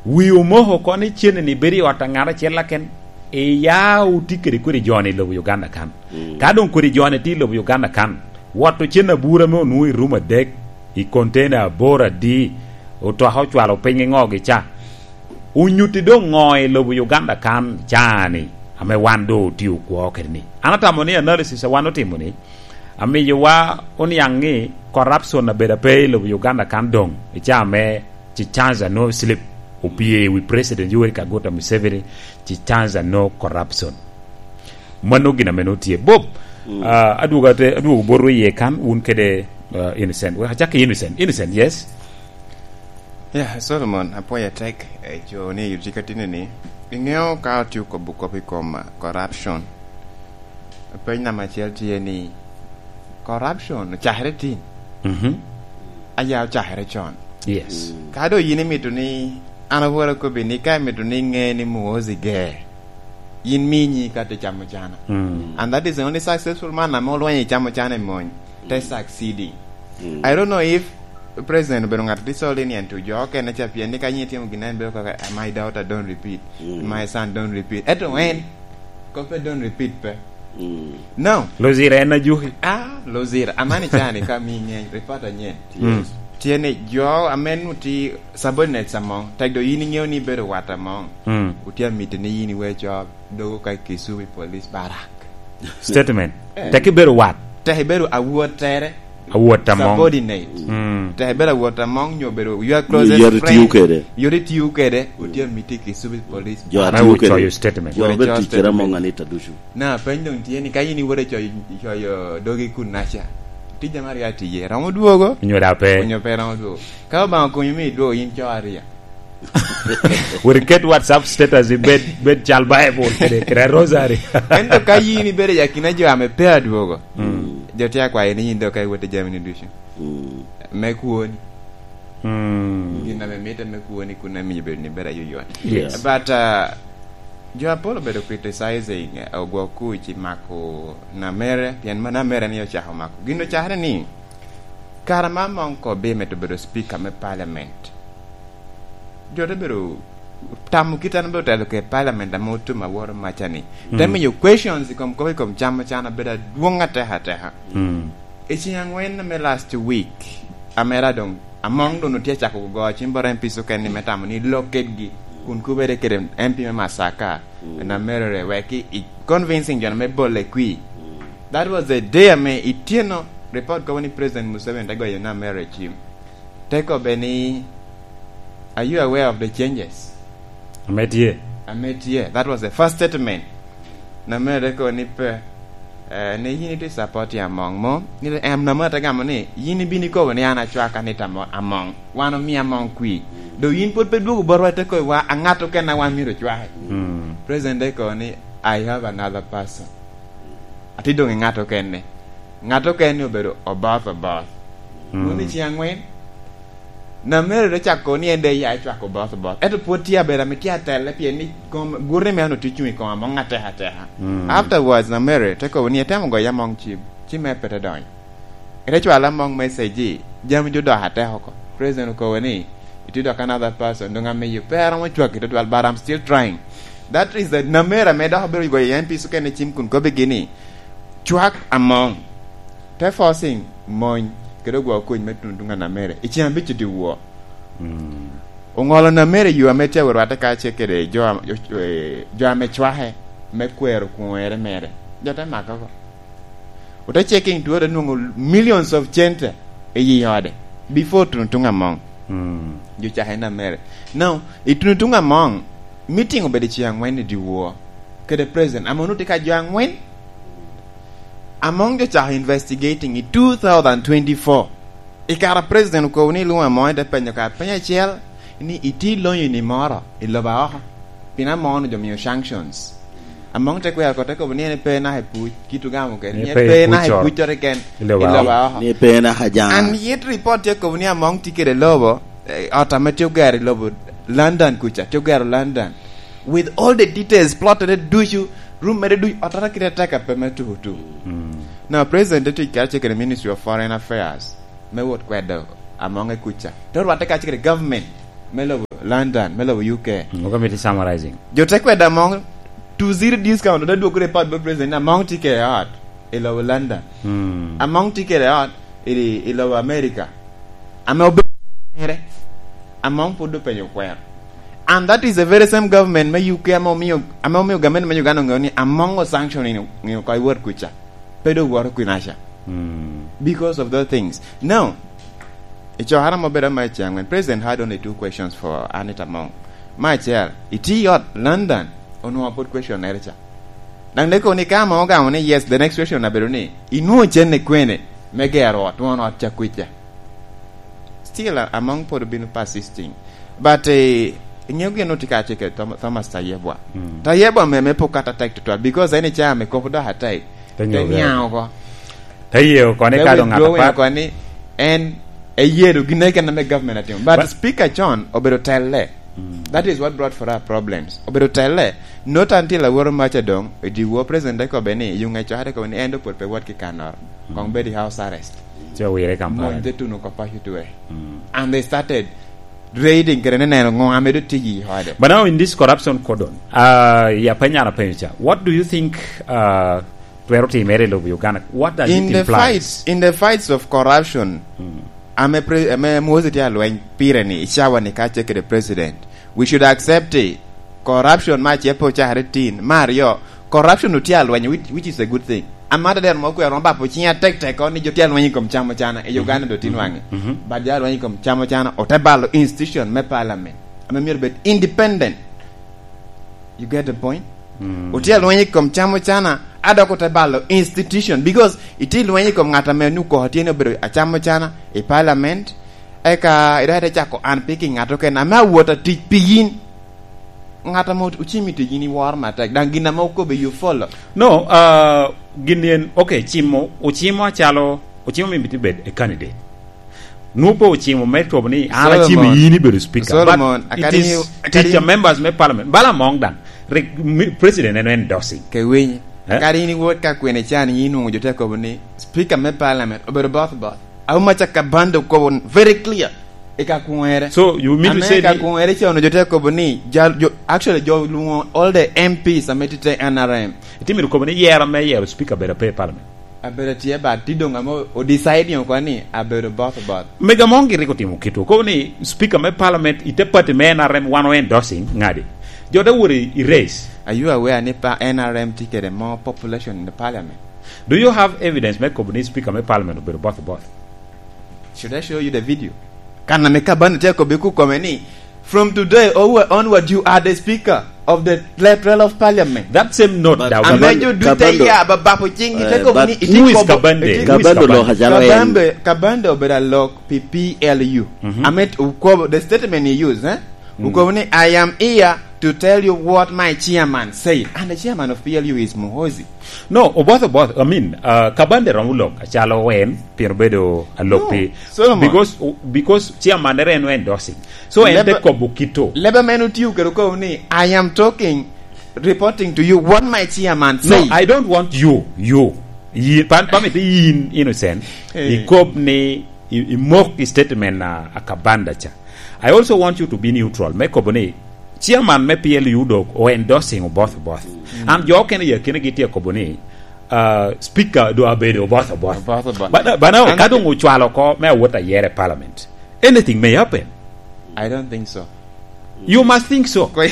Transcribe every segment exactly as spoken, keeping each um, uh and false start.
Wi omoko oko ni cene-ni bedo i ot a ŋat acel aken, iya otye kede kodi jo-ni i lobo Uganda kan. Mm. Ka doŋ kodi jo-ni tye i lobo Uganda kan, wot ocen abura ame onwoŋo i rum adek, i container aboro adi, otoka ocwalo piny i ŋogi ca. Onyutti doŋ ŋo i lobo Uganda kan caa-ni, ame wan doŋ otye okwo kede-ni? An atamo ni analysis a wan otimo-ni, amiyowa oniaŋ ni corruption abedo ape i lobo Uganda kan doŋ, i caa me ci chance a nwoŋo slip opye i wi President Yoweri Kaguta Museveni, ci chance a no corruption. Mano gin ame nwoŋo tye. Bob, mm, ah, adwogo ate, adwogo botwu iye kan, wun kede, ah, Innocent. Wek acak ki Innocent. Innocent, yes? Yeah, Solomon, apwoyo atek, eh, co ni yot ka tini ni. Iŋeo ka otye okobo kop i kom, ah, corruption. Peny namba acel tye ni, corruption ocakere tin? Mhm. Aya ocakere con. Yes. Mm. Ka doŋ yin imito ni an awor akobbi ni ka imito ni iŋe ni Muhoozi ger, yin mi nyi ka te camo cana. Mm. And that is the only successful man ame olwenyo i camo cana i mony, te, mm, succeeding. Mm. I don't know if President obedo ŋat a disobedient to jo okene ca, pien ni ka yin itimo gin en bedo kaka, "My daughter, don't repeat. Mm. My son, don't repeat." Ento en, koppe don't repeat pe. Mm. No. Luzira en ajuki. Ah, Luzira. Amani cani ka mi ŋeny, report anyen. Mm. Tye ni jo ame nu ti subordinates among, tek do yin iŋeo ni ibedo wat among. Mm. Otye amiti ni yin iwe co dogo ka i Kisubi Police Barrack. Statement. Eh. Tek ibedo wat. Tek ibedo awot tere. Awot among. Subordinate. Mm. Tek ibedo awot among nyo bedo your closest friend. Yot itiyo kede. Yot itiyo kede. Mm. Otye amiti Kisubi Police Barrack. Jo ame atiyo kede. Ocoyo statement. Jo ame tic kede among Anita ducu. Na, peny doŋ tye ni ka yin iwoto coyo, coyo dogi kun naca, tija me aryo atiye, romo dwogo? Onyo daŋ pe? Onyo pe romo dwogo? Ka Obaŋa okonyo mi idwogo, yin co aryo. Wek iket WhatsApp status i bed, bed cal Bible kede, kede rosary. Ento ka yin ibedo i akina jo ame pe adwogo, mm, jo tye akwayo ni yin doŋ ka iwot i jami ni ducu. Mm. Me kwoni. Mm. Gin ame mitte me kwoni kun amiyo bedo ni bedo ayoyot. Yes. But, uh, jo apol obedo criticizing, uh, Ogwok Kuc i mako Namere, pien ma Namere ni ocako mako. Gin ocakere ni, kara ma Among Kobi mito bedo speaker me parliament. Jo te bedo tamo kit an bedo telo ke parliament ame otum aworo maca ni. Mm. Te miyo questions i kom kop i kom cam can abedo adwoŋ ateka ateka. Mm. I ceng angwen me last week, amera doŋ, Among doŋ otye acako go cim bot M Ps okene ni me tamo ni lok kedgi, kun kubere kede M P me Masaka, mm, na merore wek i, i convincing jo me bole kwi. Mm. That was the day ame ityeno report kobo ni President Museveni te goyo na merore cim. Te kobbe ni, "Are you aware of the changes?" Ame tye. Ame tye. That was the first statement. Namere ko ni pe, eh, ni yin iti support ya Among mo. Ni em Namere te gamo ni, "Yin ibino ikobo ni an acwaka ni tamo Among. Wan omi Among kwi. Do yin pwod pe dwogo botwa te kobo wa aŋat oken a wan myero ocwaki." Mm. President te ko ni, "I have another person." Ati doŋ i ŋat okene. Ŋat okene obedo Oboth Oboth. Mm. Wun i ceng angwen, Namere te cako ni en de ya ecwako Oboth Oboth. Ento pwod tye abedo ame tye atelle, pien ni kom, gurri me an otye cuŋ i kom Among ateka ateka. Mm. Afterwards, Namere te kobo ni etemo goyo Among cim, cim me pe te donyo. Ete cwalo Among message, jami jo dok atek oko. President okobo ni, "Itye dok another person, doŋ amiyo pe aromo cwaki tutwal, but I'm still trying." That is the Namere ame dok obedo goyo M Ps okene cim kun kobbigi ni, "Cwak Among." Te forcing mony kede Ogwok Kuc me tuno tuŋ a Namere i ceng abic i dyewor. Mm. Oŋolo Namere yo ame tye awot rwatte kacel kede jo am-, jo, eh, jo ame cwake me kwero kwoŋere mere. Jo te make oko. Ote checking to, ote nwoŋo millions of cente i yi ode before tuno tuŋ Among. Mm. Jo cake Namere. Now, i tuno tuŋ Among, meeting obedo i ceng angwen i dyewor kede president. Among otye ka jo angwen. Among jo cako investigating i two thousand twenty-four. I kare a president okobo ni ilwoŋo Among, ite penyo ka peny acel ni, "Itye lonyo ni moro i lobo aoko?" Pien Among onongo jo miyo sanctions. Among te kwero oko, te kobo ni en pe naka i Puc, kit ogamo kede, ni en pe naka i Puc oro keken, i lobo aoko. Ni pe naka Jaŋa. And yet report tye kobo ni Among tye kede lobo, eh, ot ame tye ogero i lobo London kuca, tye ogero London. With all the details, plot ere ducu, room mere ducu, ot ere kite tek ape me tuku tuku. Mm. Now, president te tic karacel kede Ministry of Foreign Affairs me wot kwedo Among i kuca. Te orwatte kacel kede government me lobo London, me lobo U K. Mm, ok amito summarizing. Jo te kwedo Among to zero discount, ote dwoko report bot president ni Among tye kede ot i lobo London. Mm. Among tye kede ot i, i lobo America. Ame obedo mere, Among pwod openyo kwero. And that is the very same government me U K ame omiyo, ame omiyo gamente me Uganda oŋeo ni Among o sanctioning ŋeo oko i wot kuca. Pe dok woto kwinaca. Mm. Because of those things. Now, i cokere ame obedo me ceng angwen, President had only two questions for Anita Among. Me acel, itye i ot London, onwoŋo pwod question nere ca. Daŋ dek kono ni ka Among ogamo ni yes, the next question abedo ni, inwoŋo cene kwene me gero ot, twon ot ca kwija? Still, uh, Among pwod obino persisting. But, eh, iŋeo gin otye kacel kede Thom-, Thomas Tayebwa. Mm. Tayebwa me, me pok kata tek tutwal, because en i caa me kop dok atek. Te niaŋ oko. Te niaŋ oko. Te ye oko ni ka doŋ ŋat withdrawing apat. Oko ni en eyedo gin eken ame government atimo. But Speaker John obedo telle. Mm. That is what brought for our problems. Obedo telle, not until aworo maca doŋ, i dyewor president te kobbe ni, yuŋ ecokere kobbe ni en doŋ pwod pe wot ki kanoro. Mm. Koŋ bed i house arrest. Ci owire i Kampala. Mony te tuno oko paco twe. Mm. And they started raiding kede ne neno ŋo ame doŋ tye i ode. But now in this corruption cordon, uh, ya penyo an apenyo ca, what do you think, uh, twero timere i lobo Uganda? What does it implies? In the fights, in the fights of corruption, mm, ame pre-, ame Muhoozi tye alweny pire ni, i cawa ni ka tye kede president, we should accept it. Corruption ma ace pe ocakere tin. Me aryo, corruption otye alweny, which, which is a good thing. Amada dero mo kwero bapo cinga tek tek ni jo tye alweny i kom camo cana i Uganda do tin waŋe. Mhm. But jo alweny i kom camo cana ote balo institution me parliament ame myero bed independent. You get the point? Mm. Otye alweny i kom camo cana, a dok ote balo institution, because itye lweny i kom ŋat ame nu koko tye ni obedo acamo cana i parliament, eka idok ite cako unpicking ŋat okene ame awot atic pi yin. Ŋat ame ocimi tic yin iworo matek, daŋ gin ame okobbe you follow. No, uh, gin en, okay, cimo, ocimo acalo, ocimo mito bed a candidate. Nwoŋo pe ocimo me kobo ni an acimo yin ibedo speaker. Solomon, but it is tic a members me parliament. Bala Among daŋ, rik mi-, president en endorsing. Ke winy, eh? Kadi in iwot ka kwene can, yin inwoŋo jo te kobo ni speaker me parliament obedo both both. Auma ca Kabanda okobo very clear i ka kwere. So, you mean to say ni ka kwere ca onwoŋo jo te kobo ni, jal-, jo, actually, jo lwoŋo all the M Ps ame tye te N R M. Itye mito kobo ni yero me yero speaker bedo pe i parliament? Abedo tye, but tye doŋ ame o decide oko ni abedo both both. Mega Among rik otimo kito. Kobo ni speaker me parliament i te party me N R M wan o endorsing ŋadi. Jo te wot i, i race. Are you aware ni pa N R M tye kede more population in the parliament? Do you have evidence me kobo ni speaker me parliament obedo both both? Should I show you the video? Kan ame Kabanda tye akobo i kukome ni, "From today onward, you are the speaker of the lateral of parliament." That same note, but daw ame jo duc te ya, ba-, bapo cing, eh, te kobo ni, iti kobo, iti Kabanda? Kabanda lo hajalo en. Kabanda, Kabanda obedo alok pi P L U. Mhm. Ame t-, ukobo, the statement he used, eh? Mm. Ukobo ni, "I am here to tell you what my chairman said." And the chairman of P L U is Muhoozi. No, oboth, oboth, I mean, uh, Kabanda romo lok acalo en, pien obedo alok pi. No, Solomon. Because, because chairman ere en endorsing. So, en te kobo kito. Lebe men otiyo kede okobo ni, "I am talking, reporting to you what my chairman said." No, I don't want you, you. Yi-, pan, pamito yin innocent. Eh. Ikob ni i, i mok i statement a, a Kabanda ca. I also want you to be neutral. Me kobo ni, chairman me P L U dok o endorsing Oboth Oboth. Mm. An jo okene ya kene gitye kobo ni, uh, speaker do abedo Oboth Oboth. Oboth Oboth. Bana, bana ka dong ocwalo ko me awot ayere parliament, anything may happen. I don't think so. You must think so. Ko-, eh?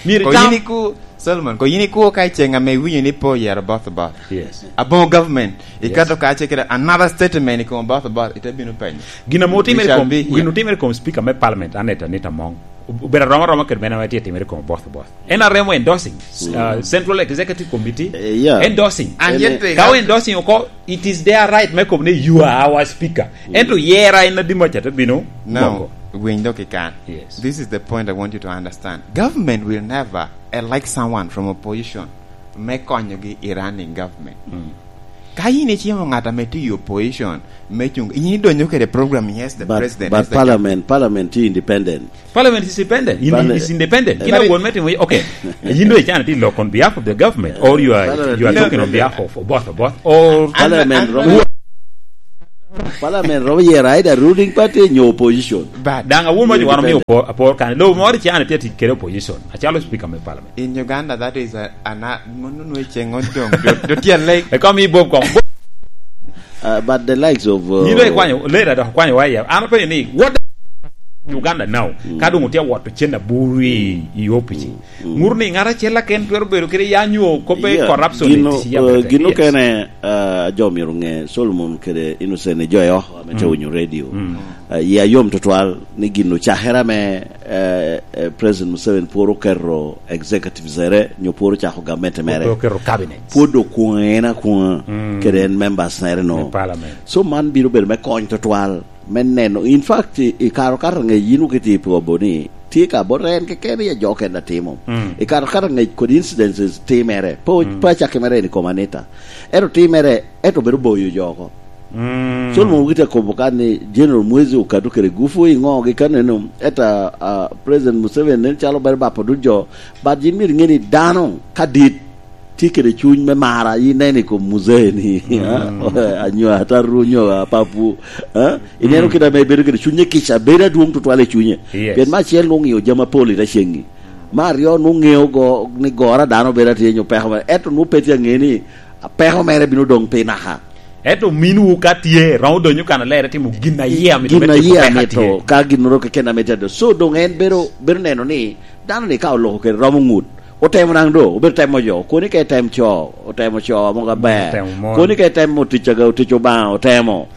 Myero ko tam- yin iku, Solomon, ko yin iku ka i ceng ame iwinyo ni po yero Oboth Oboth. Yes. Aboŋo government, yes, ikato kace kede another statement i kom Oboth Oboth, ite bino penyo. Gin ame otimere kom, gin otimere kom speaker me parliament, Anita, Anita Among. Obedo aroma aroma kede mene ame tye timere kom Oboth Oboth. N R M endorsing, uh, Central Executive Committee, eh, yeah, endorsing. And yet they have to, ka endorsing oko, it is their right me kobo ni, "You are our speaker." Mm. Ento yera en adi maca te bino. Now, winy dok i kan. Yes. This is the point I want you to understand. Government will never elect someone from opposition me konyogi i running government. Mm. Ka yin icimo ŋat ame tye i opposition me cuŋ, yin idonyo kede program, yes, the president, but parliament, parliament tye independent. Parliament is independent. In-, is independent. Kina won me timo, okay. Yin do icano ti lok on behalf of the government, or you are, you are talking on behalf of Oboth Oboth, or parliament romo. Parliament romo yero either ruling party nyo opposition. But daŋ awun ma jo wan omio Independent. Opor, apor kan. Lobo moro i China tye tic kede opposition. Acalo speaker me parliament. In Uganda, that is a, a na-, mano nwe ceng on dong. Do, do tyen lek. E kom i bob kom. Uh, but the likes of, uh, Yin dong ikwanyo, later dok ikwanyo wa ya. An apenyo ni, what Uganda now? Mm. Ka dong otye awoto cen aburu i, i opici. Mm. Ŋut ni ŋat acel aken twero bedo kede yanyo kobbe. Yeah, corruption gino, i tic ya uh, bete. Gino yes. Kene, uh, jo myero ŋe, Solomon kede Innocent i jo yo, ame te winyo radio. Mm. Uh, ya yom tutwal ni gin ocakere ame, uh, uh, President Museveni pworo keto executive zere, nyo pworo cako gamente mere. Pworo keto cabinet. Pwod okwoŋe en akwoŋa, mm, kede en members nere no. Me parliament. So man biro bedo me kony tutwal. Me neno, in fact, i, i kare okato angec yin okiti i pwobo ni, tye ka bot en keken i ajo kenda timo. Mm. I kare okato angec kodi incidences timere, pe o-, mm, pe acakke mere en i kom Anita. Ento timere, ento bedo boyo jo oko. Mm. Solomon okiti akobo kan ni General Mwezi okado kede gufu i ŋo gi kaneno, eta, ah, President Museveni nen calo bedo bapo dul jo, but yin myero iŋe ni dano ka dit tye kede cuny me mara, ineno i kom muzee ni, mm, ha? Anyo ataru, nyo apapu, ha? Ineno, mm, kit ame bedo kede cunye kica, bedo adwoŋ tutwal i cunye. Yes. Pien me acel nwoŋo ŋeo jami apol i te ceŋŋi. Me aryo nwoŋo ŋeo go, ni goro a dano bedo atye nyo peko mere. Ento nwoŋo pe tye aŋe ni peko mere bino doŋ pi naka. Ento ominwu ka tye, romo donyo kan alere timo gin a yie amito. Gin me a timo yie peko amito, atye. Ka ginnoro keken ame tye ado. So doŋ en bedo, bedo neno ni dano ni ka oloko kede romo ŋut, otemo naŋ do, obedo temo jo. Koni ka item co, otemo co amo aber. Otemo mon. Koni ka item otic aga, otic Obaŋa, otemo.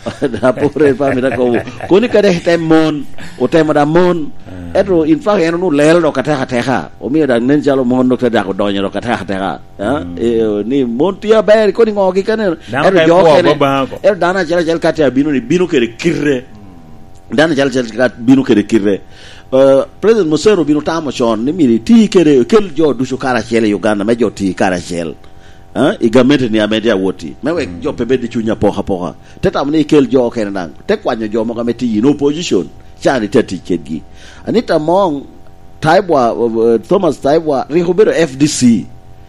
Apore pa mita kobo. Koni ka dek item mon, otemo da mon. Ah. Ento in fact en onwoŋo lelo dok ateka ateka. Omio daŋ nen calo mon dok te dako donyo dok ateka ateka. Ah, mm, eh, ni mon tye aber, koni ŋo gi kene. Dano ento ka jo ikwo kene, Obaŋa ko. Ento dano acel acel ka tye abino ni bino kede kite. Dano acel acel ka bino kede kite. Eh, President Museveni obino tamo con ni myero iti kede, kel jo ducu karacel i Uganda, me jo ti karacel. Eh, i gamente ni ame tye awoti. Me wek, mm, jo pe bed i cuny apokapoka. Te tamo ni ikel jo okene daŋ. Te kwanyo jo mogo ame tye in opposition. Can ite tic kedgi. Anita Among, Taibwa, eh, Thomas Taibwa, rik obedo F D C.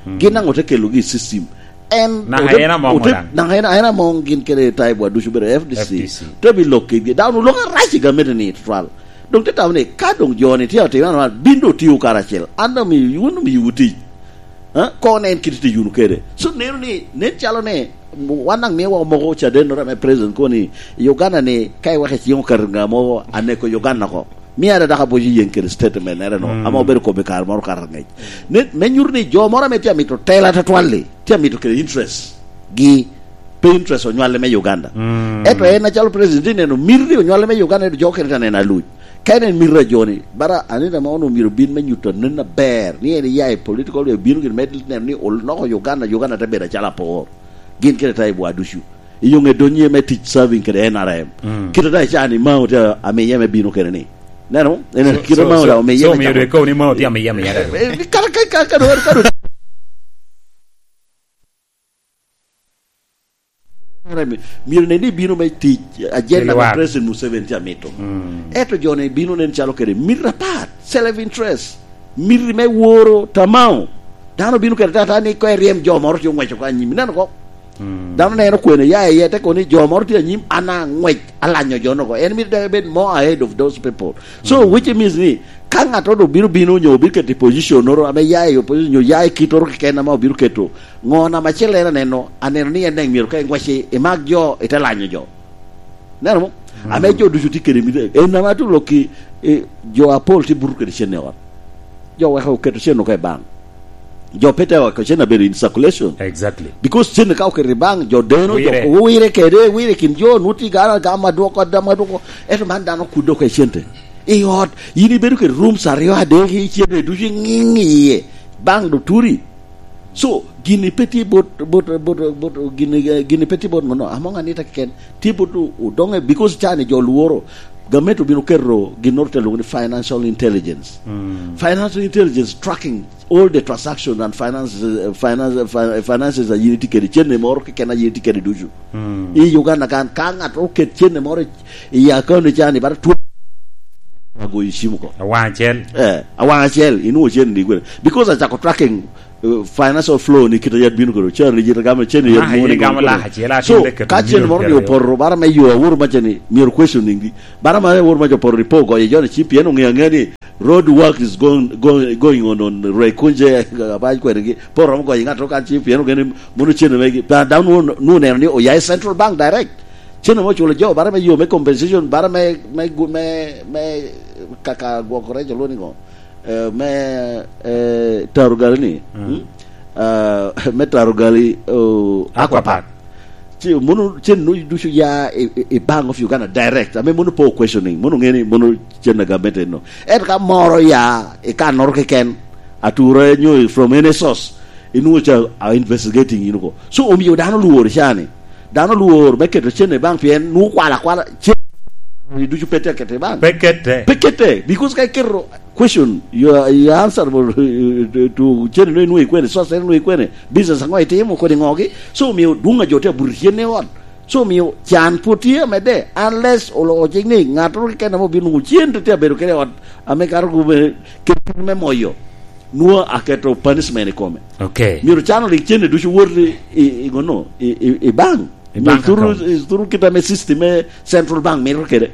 Mm. Gin daŋ ote kelogi i system. En naka ote-, en Among ote-, daŋ. Naka en, en Among gin kede Taibwa ducu obedo F D C. F D C. Te bi lok kedgi. Dano olok arac i gamente ni tutwal. Doŋ te tamo ni, ka doŋ jo ni tye atimo anwa, bin doŋ otio karacel. An doŋ mi, wun omiyowu tic. Ha? Koŋ nen kit tic wunu kede. So, neno ni, nen calo ni, wan daŋ miwa omoko cadennoro ame president koni, i Uganda ni, ka iweko iciŋo kato ŋa mogo, aneko Uganda oko. Mia ada dok aboco yeŋ kede statement nere no, mm, ame obedo kobbe kare moro kato angec. Ne, me nyuto ni jo moro ame tye amito tela tutwal-li, tye amito kede interest gi, pe interest onywale me Uganda. Mm. Ento en acalo president tye neno miti onywale me Uganda, ento jo okene tye aneno aluc. Ka en en mito a joni, bara Anita Among onwoŋo myero obin me nyuto anen aber, ni en iya i political way, obino gire me neno ni oloko Uganda, Uganda te bedo acalo apor. Gin kede Taibwa ducu. I yo ŋe donye me tic serving kede N R M. Mm. Kite da ica ni Mao te amiye me bino kede ni. Neno, en so, kite so, Mao so, da omiye so me myero cako. Ikobo ni Mao tye amiye, amiye. Eh, eh, kara, kara, kara, kara, kara. Myero nen ni bino me tic, agenda me President Museveni tye amito. Mm. Ento jo-ni bino nen calo kede miti apat, self interest, miti me woro tamao. Dano bino kede tata ni ko eryem jo moro tye oŋweco ko anyim. Ineno ko? Mm. Dano neno kwene ya iye, te kono ni jo moro tye anyim, an aŋwec, alanyo jo nogo. En mito dok ebed more ahead of those people. So, mm, which means ni, ka ŋattoro obino bino nyo obino keto i position-noro ame ya i opposition nyo ya i kittoro keken ame obino keto, ŋo namba acel en aneno, aneno ni en daŋ myero ka iŋwec i, imak jo, ite lanyo jo. Neno mo? Mm. Ame jo ducu tye kede miti, en ame atu lokki, eh, jo apol tye buto kede cen i ot. Jo weko oketo cen oko i bank. Jo pe te weko cen abedo in circulation. Exactly. Because cen ka oketo i bank, jo deno, jo wire. Wire kede, wire kin jo, nwoŋo tye gana gama dwoko, adama dwoko. Ento man dano kudde oko i cente. I ot, yin ibedo kede rooms aryo adek i cente ducu iŋiŋ iye. Bank do turi. So, gini pe tye bot, bot, bot, bot, gini, gini pe tye bot mano, Among Anita keken, tye bot o-, odoŋe, because cani jo lworo, gamente obino keto ginnoro te lwongo ni financial intelligence. Mm. Financial intelligence tracking all the transactions and finances, uh, finance, uh, fi-, finances a yin itye kede, cene moro keken a yin itye kede ducu. Mm. I Uganda kan, ka ŋat oket cene moro i, i account ni cani, bara two goyo cim oko. Awaŋ acel. Eh, awaŋ acel, inwoŋo cen ni kwene. Because acako tracking, uh, financial flow ni kite yat bino kuro. Cen ni jita gamo, cen ni yat Ah, mwoni yin gamo gamo lak kuro. Acel, atin So, dek keto ka cen moro ni opoto, bara me yo awor maca ni, myero questioning di. Bara me awor maca opoto ni po goyo jo ni cim, pien oŋeo aŋea ni road work is going, going, going on, on Rwekunje, abany kwene gi. Po romo goyo ŋat kan cim, pien oŋeo ni mono cen megi. Pa dano nu, nu neno ni oya i Central Bank direct. Cen ame oculo jo, bara me yo me compensation, bara me, me, me, me kaka gwoko rec olwongo ni ŋo? Eh, me, eh, taro gali ni, Mm. hmm? Ah, me taro gali, oh, Aquapark. Aquapark. Ci, mono cen no ducu ya i, i, i Bank of Uganda direct. Ame mono po questioning, mono ŋe ni mono cen a gamente no. Ento ka moro ya i kannoro keken, ature nyo from any source, inwoŋo ca a investigating in oko. So, omio dano lworo cani. Dano lwor me keto cen i bank pien nwoŋo kwalo akwala cen ducu pe tye keto i bank. Pe kette. Pe kette, because ka iketo question, you are, you are answerable to, to cen eno inwoŋo ikwene, source eno inwoŋo ikwene, business aŋo itimo, kodi ŋogi. So, omio dwoŋ a jo tye abuto cen i ot. So, omio can pwod tye amedde, unless oloko cik ni ŋattoro keken ame obino nwoŋo cen tye abedo kede i ot, ame kato gume, kede me moyo. Nwoŋo aketo punishment i kome. Okay. Myero can olik cene ducu wot i, i, i ŋono, i, i, i bank. I bank account. Myero thuru, thuru kit ame system me Central Bank mito kede.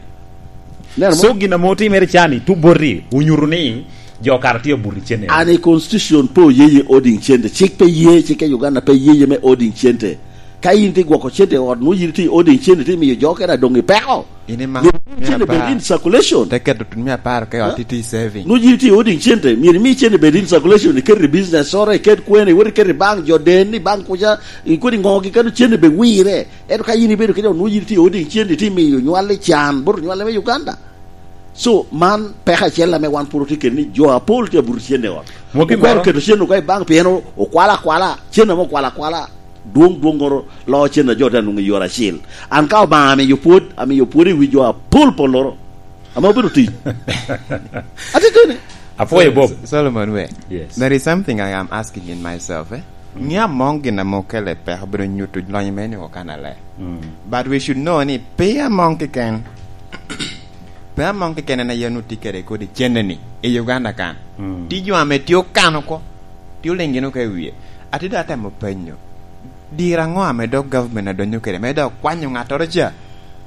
Neno mo? So, gin ame otimere cani, tu boti, onyuto ni jo kara tye abuto cene. An i constitution pe oyeye holding cente. Cik pe ye, cik i Uganda pe yeye me holding cente. Ka in tye gwoko cente i ot, nwoŋo in tye holding cente, tye miyo jo kede adoŋ i peko. In ima, Myero in cene bed in circulation. Te keto tut mia apar ka i ot, eh? Iti saving. Nwoŋo in tye holding cente, myero imi cene bed in circulation, iket i business oro, iket kwene, iwot iket i bank, jo den i bank kuca, ikodi ŋogi kano cene be wire. Ento ka in ibedo kede, nwoŋo in tye holding cente, iti miyo nywal i can, bot nywal me Uganda. So, man peko acel ame wan pwod otye kede ni jo apol tye abuto cene i ot. Okwero keto cene oko i bank pien o-, okwalo akwala, cene ame okwalo akwala. Dwoŋ, dwoŋŋoro loo cen a jo te nwoŋo i yore acil. An ka Obaŋa amio pwod, amio pwod i wi jo apol polloro, ame obedo tic. Atiteni. Apwoyo, Bob. So-, Solomon we. Yes. There is something I am asking in myself, eh? Mm. Ŋe amoŋ gin ame okele peko obedo nyuto lonyo me nwoŋo kan ale. Mm. But we should know ni pe amoŋ keken, pe amoŋ keken en aye onwoŋo tye kede kodi cene-ni i Uganda kan. Mm. Tye jo ame tye okano oko, tye oliŋ gin oko i wie. Atye dok atemo penyo, diro aŋo ame dok government adonyo kede, me dok kwanyo ŋattoro ca,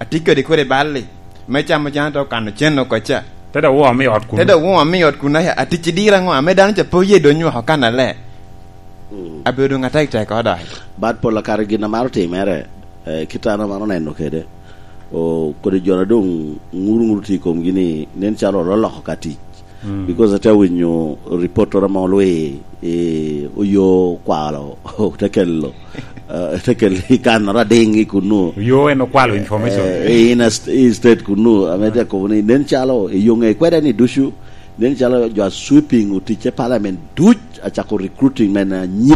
atye kede kodi bal-li, me camo can, te okano cen oko ca? Te dok woo ame i ot kuno. Te dok woo ame i ot kuno, aya, atic i diro aŋo ame dano ca pe oye donyo oko kan ale? Mm. Abedo doŋ atek tek oko dok. But pol akato gin amaro timere, eh, kit an amaro neno kede. O, kodi jo na doŋ ŋuru ŋuru tye i komgi ni, nen calo ololoko ka tic. Mm. Because ate winyo report oro ame olwi, eh, oyo kwalo, te kelo, eh, te kelo i kannoro adiŋ i kunnu. Oyo en okwalo information. Eh, i inner st-, i state kunnu, ame te kobo ni, nen calo i yo ŋe kweda ni ducu, nen calo jo a sweeping oticce parliament duc acako recruiting men anyim.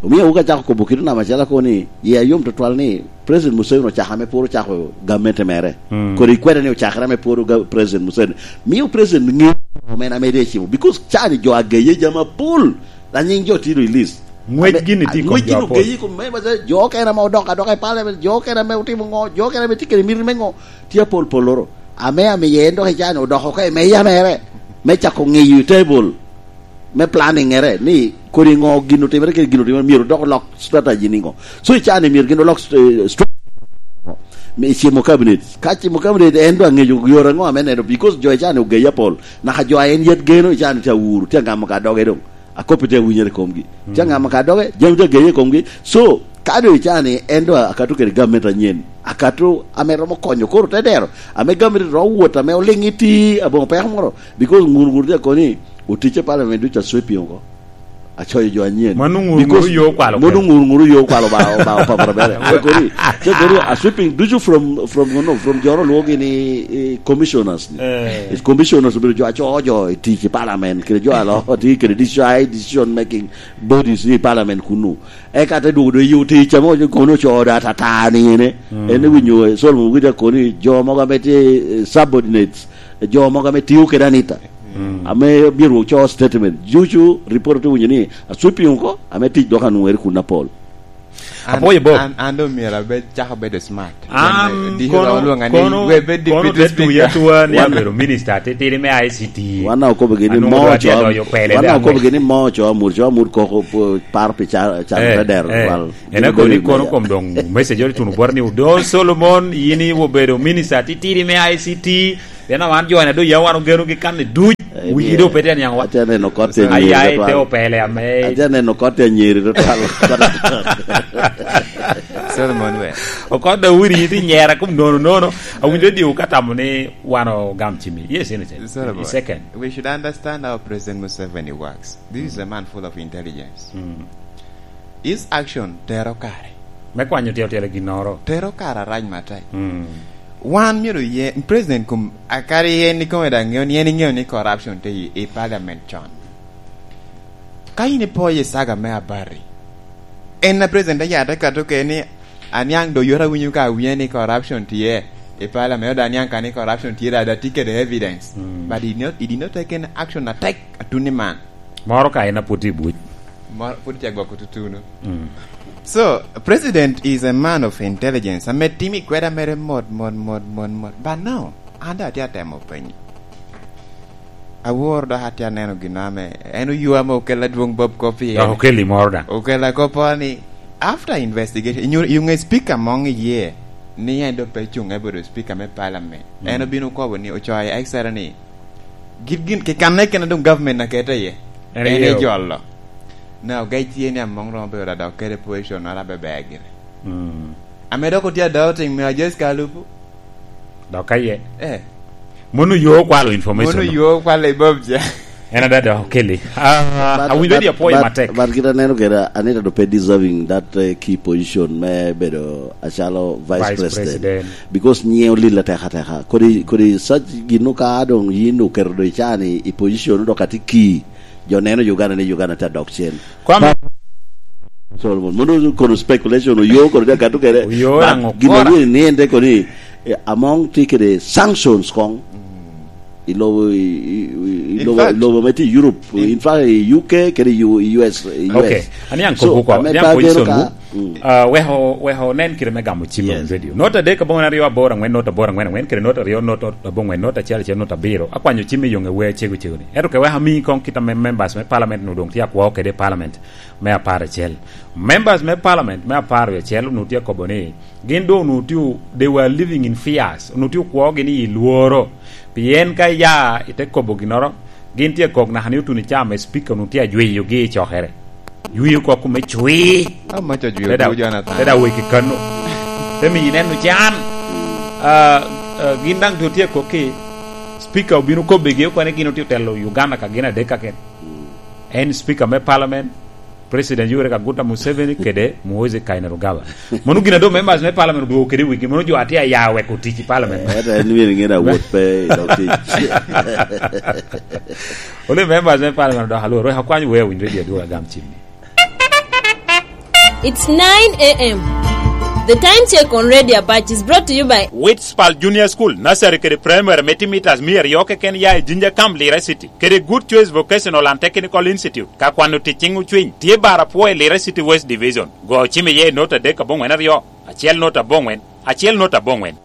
Omio wuka acako kobo kit onama acel ako ni, ye ayom tutwal ni, President Museveni ocako ame pwod ocako gamente mere. Mm. Kodi kweda ni ocakere ame pwod ga-, President Museveni. Mio President ŋeo ame en ame de cimo. Because cani jo ageye jami apol. Anying jo tye i list. Ngwec gini tye i kom jo apol. Ngwec gini ogeye i kom me, jo okene ame odok adoka i parliament, jo okene ame otimo ŋo, jo okene ame tye kede miti me ŋo, tye apol poloro. Ame amiye en dok i cani odoko oko i meya mere. Me cako ŋeyo i table. Me planning ere, ni kodi ŋo gin otimere, kede gin otimere, myero dok olok strategy ni ŋo. So, i cani myero gin olok, eh, stra-, me cimo cabinet. Ka cimo cabinet, en dwa ŋeyo yore ŋo ame neno, because jo i cani ogeye apol. Naka jo a en yet geno i cani tye awuro, tye aŋamo ka doge doŋ. Akop tye awinyere i komgi. Tye aŋamo ka doge, jami tye ageye i komgi. So, ka doŋ i cani, en dwa akato kede gamente anyen. Akato ame romo konyo koro te dero. Ame gamente romo wot ame oliŋ iti aboŋo peko moro. Because ŋur ŋur tye akoni, oticce parliament ducu a sweeping oko. Acoyo jo anyen. Mano ŋur ŋur yo okwalo mono kel. Ŋur ŋur yo okwalo ba, ba, ba, ba, ba, ba, kodi, kodi, a sweeping ducu from, from, no, from joro lwogi ni, eh, commissioners ni. Eh. Commissioners obedo jo acoyo jo i tic i parliament, kede jo alo, ti kede decision, decision making bodies i parliament kunu. Eka te dwogo do yo tic amo kono ocoyo da tata ni ene. Mm. En winyo, eh, Solomon Wita koni jo mogo ame tye, eh, subordinates, jo mogo ame tiyo kede Anita. Mm. Ame myero oco statement. Jucu report te winyo ni a sweeping oko, ame tic dok anwoŋere kun apol. An, Apwoyo Bob. An, an doŋ myero abed, cako bedo smart. An Diki kono, olwonga ni, kono, "We bed kono deputy te tuya speaker." Atua ni Wan abedo minister titidi me I C T. Wan okobo gini Anwoŋo mo doŋ atye cwa-, adoyo pele wan doŋ okobo aŋwec. Gini mo cwa mur, cwa mur koko po-, par pi ca-, ca-, Eh, te dero eh. Wal. En Gini akoni bedo kono meya. Kom doŋ message ori tuno bot ni, "Odo Solomon, yin i obedo minister titidi me I C T." Pien wan jo na doŋ ya wan ogeno gi kan i duc, Eh, wigi doŋ pe tye niaŋ wa. Atye neno kot tye Ai, nyiri ai, tutwal. Te opele ame. Atye neno kot tye nyiri tutwal. Solomon we. Okot da wiri iti nyera kum nono nono. Awinjo diwu ka tamo ni wan ogam cimi. Yes, anything. Solomon. Second. We should understand how President Museveni works. This is a man full of intelligence. Mm. His action tero kare. Me kwanyo tye otelo ginnoro. Tero kare arac matek. Mm. Wan myero ye, President kum, akari yen ikome daŋ ŋeo ni, en iŋeo ni corruption tye i, i parliament con. Ka in ipo i saga me abati, en a President ya te kato ke ni, aniaŋ do yot awinyo ka awinyo ni corruption tye i parliament, oda aniaŋ ka ni corruption tye, da, da tye kede evidence. Mm. But he did not, he did not take any action atek atuni man. Moro ka en apud tye i buc. Moro pud tye agwoko tutunu. Mm. So, President is a man of intelligence. Ame timo i kweda mere mot, mot, mot, mot, mot. But no, an da atye atemo penyo. Awor dok atye aneno gin ame en oywa ame okella dwong Bob Kopien. Dok okeli moro daŋ. Okella kopo ni, after investigation, you, you nge speaker mong iye, ni en do pe cuŋ ebedo speaker me parliament. Mm. En obino kobo ni, ocoyo extra ni, Gin, gin, kikanne kene doŋ government akete iye. En En aye ejolo. Na ogec tye ni Among romo bedo adok kede position noro abe ber gire. Mm. Ame dok otye adok ting me Ajes Kalupu. Dok aye. Eh. Mono yo okwalo information Mono no. Yo okwalo i Bob ja. En ada dok okeli. Ah, But, awinjo but, ni apwoyo but, matek. But kit aneno kede, Anita do pe deserving that, eh, key position me bedo acalo vice Vice president. President. Because nyiŋe olil atek ateka. Kodi, kodi such gin ka doŋ yin oketo do icani i position dok atye ki, jo neno Uganda ni Uganda tye adok cen. Kwame. Solomon, mono kono speculation oyo kono tye akato kede. Oyo But raŋo gin kora? Awinyo ni en te koni, eh, Among tye kede sanctions koŋ. I lobo, i, i, i, i In lobo, fact, lobo me tye Europe, in in fact, i U K kede U-, U S, U S. Okay. Ani an So, kobo ko, ame ani an ta kobo geno isom ka, wu. Mm. Ah, weko, weko nen kite me gamo cim Yes. on radio. Not adek aboŋwen aryo aboro aŋwen, not aboro aŋwen aŋwen, kede not aryo, not abongwen, not acel acel, not abiro. Akwanyo cim i yoŋe wer cego cego ni. Ento ke wek ami koŋ kit ame members me parliament nu doŋ tye akwo kede i parliament me apar acel. Members me parliament me apar acel nu tye akobo ni, Gin doŋ onwoŋo tye, they were living in fears. Onwoŋo tye okwogi ni i lworo. Pien ka iya ite kobo ginnoro, gin tye kok naka ni otuno i caa me speaker onwoŋo tye ajweyogi i cokere. Jwio kok kome cwii. Amaca jwio Te da-, tuo Jonathan. Te da weki kano. Te miyi neno can. Ah, ah, gin daŋ doŋ tye kok ki speaker obino kobegi okwane gin otye otelo Uganda ka gin adek kaken. En speaker me parliament, President Yoweri Kaguta Museveni kede Muhoozi Kainerugaba. Mano gin a doŋ members me parliament odwogo kede wigi, mano jo atye aya weko tic i parliament. Eh, ento en myero ŋen awot pe i dog tic. Only members me parliament odok alwor, wek akwany wea winyo radio adwogo agam cimmi. It's nine a m. The time check on Radio Apache is brought to you by Witspal Junior School, Nursery kede Primary me tye mitas mia aryo keken ya i Jinja Camp, Lira City. Kede Good Choice Vocational and Technical Institute, ka kwano tic ciŋ ocwiny, tye bar apwo i Lira City West Division. Go cim iye i not adek aboŋwen aryo, acel not aboŋwen, acel not aboŋwen.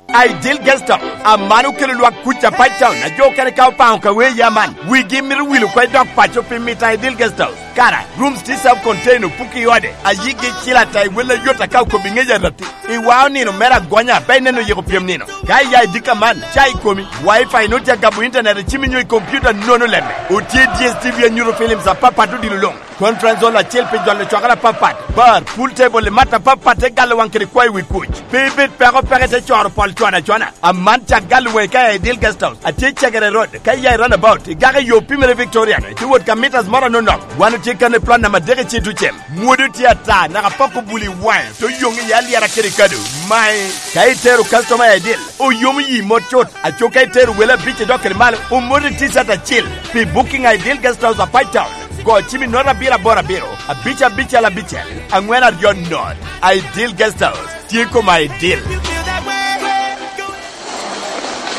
Ideal Guest House, aman okelo lwak kuc Apac Town, a jo okene ka opaŋo ka wee ya man. Wigi mito wil oko i dog paco pi mito Ideal Guest House. Kara, rooms tye self contained, opuki i ode, a yigi cil ata i wel ayot aka okobi ŋec arati. Iwao nino mere agonya, pe ineno yiko pyem nino. Ka iya i dika man, ca i komi, Wi-Fi nut ya gabo internet i cimi nyo i computer nono lemme. Otye D S T V anyuto films apapat odilo luŋ. Conference hall acel pi jolo cwakere apapat. Bar, pool table i mat apapat te galo waŋ kede kwayo wi kuc. Pe ibed peko peke te coro pol cwana cwana. Aman cak galo waŋi ka i Ideal Guest House. Atye Cegere Road. Ka iya i roundabout, igako i yo pimere Victorian, itye wot ka meters moro anonok. Wan otye kan i plot namba adek i Citucem. Mwodo tye ata, naka poko buli i waŋe, to yoŋ iye alyera kede kado. Mae, ka itero customer i Ideal, oyomo yi mot cut. Aco ka itero wele abic i dok kede malo, omoti T-shirt acel. Pi booking i Ideal Guest House Apac Town, go cim i not abiro aboro abiro, abic abicel abicel, aŋwen aryo not. Ideal Guest House, tye koma Ideal.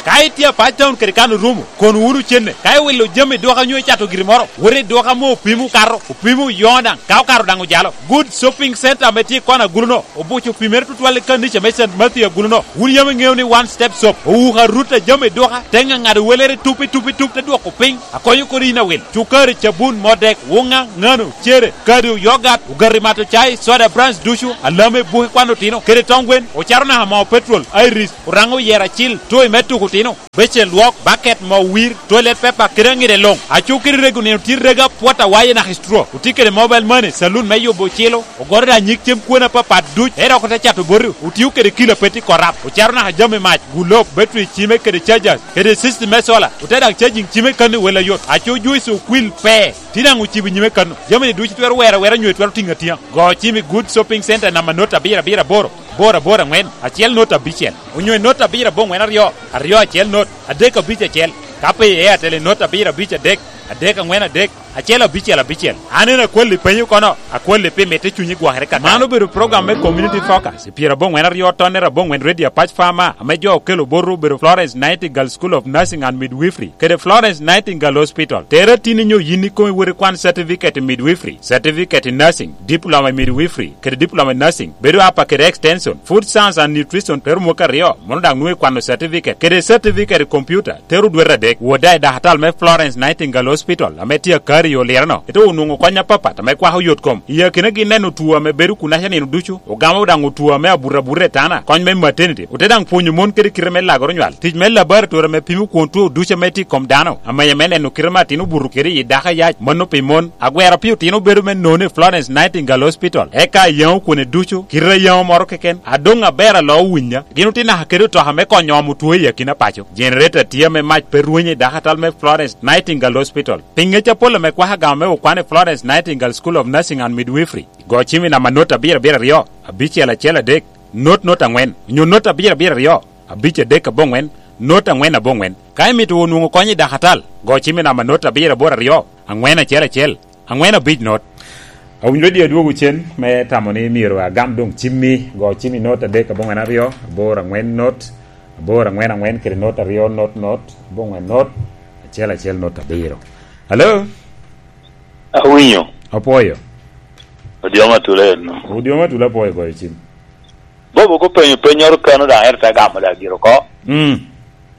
Ka itye a pac taun kede kan orumo, kono wunu cenne. Ka iwilo jami i duka onyo icato giri moro, wot i duka ame opimo okato, opimo oyoŋo daŋ, ka okato daŋ ojalo. Good Shopping Center ame tye i kona agulu-no, obuco opimere tutwal i kanica me Saint Matthew agulu-no. Wun yam iŋeo ni One Step Shop owuko arut a jami i duka, te ŋaŋado welere tup i tup i tup, te dwoko piny, akonyo kodi yin awil. Cukari, cabun, modek, wuŋa, ŋano, cere, kado, yogat, ogati mato cai, soda brands ducu, alame, buke kwan otino, kede tong gwen, ocato naka moo petrol, Iris, Oraŋo oyero acil, toy me tuko otino, becen lwok, baket, moo wir, toilet paper, kede aŋide luŋ. Aco kede rego nino tye rega apwot awaye naka i straw. Otye kede mobile money, saloon me yubo ocilo, ogoto daŋ nyig cem kwone apapat duc, ento dok ote cato boti. Otio kede kilo a pe tye korap, ocato naka jami mac, gulob, battery cime kede chargers, kede system me solar, ote daŋ charging cime kan i wel ayot. Aco juice okwil pe, tye daŋ ocibo nyime kan. Jami-ni ducu itwero wero awera onyo itwero tiŋo atiŋa. Go cim i Good Shopping Center namba not abiro abiro aboro, aboro aboro aŋwen, acel not abicel, onyo i not abiro aboŋwen aryo, aryo acel not, adek abic acel. Ka pe i Airtel i not abiro abic adek, adek aŋwen adek, acel abicel abicel. An en akwalli penyo kono, akwalli pi mitte cunyi gwokere kaka. Man obedo program me Community Focus i pyeraboŋwen aryo tonne raboŋwen Radio Apac Farmer, ame jo okelo botwu obedo Florence Nightingale School of Nursing and Midwifery kede Florence Nightingale Hospital. Tere tin inyo yin ikome wot ikwan certificate i midwifery, certificate i nursing, diploma i midwifery, kede diploma i nursing, bedo apa kede extension, food science and nutrition te rumo ka aryo, mono daŋ nwoŋo ikwano certificate, kede certificate i computer, tero dwete adek. Wot daŋ i dakatal me Florence Nightingale Hospital, ame tye akari i Oliro-no, ite onwoŋo kony apapat ame kwako yot kom. I akinagi neno two ame bedo kunaca nino ducu, ogamo daŋ two ame abuto abuta i tana, kony me maternity, ote daŋ pwonyo mon kede kite me lagoro nywal, tic me laboratory ame pimo kwon two ducu ame tye i kom dano, amenya me neno kite ame atin obuto kede i dako ayac, mano pi mon. Agwero pi otino bedo me nono i Florence Nightingale Hospital, eka ayaŋo kwone ducu, kite ayaŋo moro keken, adoŋ aber alo owinya. Gin otye naka kede otoka me konyo omo two i akina paco. Generator tye ame mac pe rwenyo i dakatal me Florence Nightingale Hospital. Pi ŋec apol ame kwako agama me okwan i Florence Nightingale School of Nursing and Midwifery, go cim i namba not abiro abiro aryo, abicel acel adek, not not aŋwen, onyo not abiro abiro aryo, abic adek aboŋwen, not aŋwen aboŋwen. Ka imito wot nwoŋo kony i dakatal, go cim i namba not abiro aboro aryo, aŋwen acel acel, aŋwen abic not. Awinyo redio adwogo cen me tamo ni myero agam doŋ cimmi, go cim i not adek aboŋwen aryo, aboro aŋwen not, aboro aŋwen aŋwen kede not aryo not not, aboŋwen not, acel acel not abiro. Alo? Awinyo. Apwoyo. Odiomo Atula en. Odiomo Atula, apwoyo goyo cim. Bobo kopenyo pennyoro kano daŋ ero te gamo daŋ gire oko. Mm.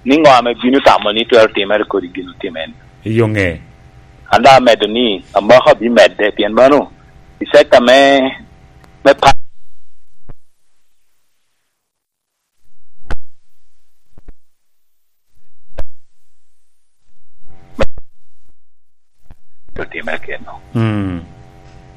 Ni ŋo ame bino tamo ni twero timere kodi gin otimere? Iyo ŋe. An daŋ amedo ni amaka bimedde, pien mano i sekta me, me pa- otimere keno. Mm.